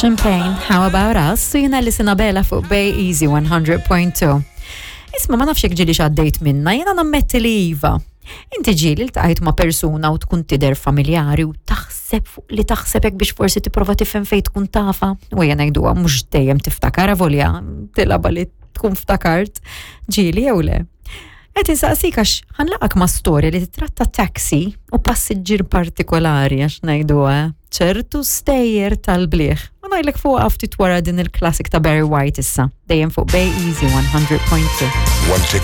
Champagne, How About Us, u jina li sinabela fuq Bay Easy 100.2. Isma ma nafx jekk ġieli x'għaddejt minna, jena nammetti li iva. Inti ġieli ltqajt ma' persuna u tkun tidher familjari u taħseb fuq li taħseb hekk biex forsi tipprova tifhem fejn tkun tafa. U jena ngħiduha mhux dejjem tiftakar avolja tilaba li tkun ftakart ġieli jew le. Qed insaqsik għax ħanlaqak ma' storja li titratta taxi u passiġġier partikolari għax ngħiduha eh, ċertu stejjer tal-bliħ. U ngħidlek fuq ftit wara din il-classic ta' Barry White issa, dejjem fuq Bay Easy 100.2. One ticket.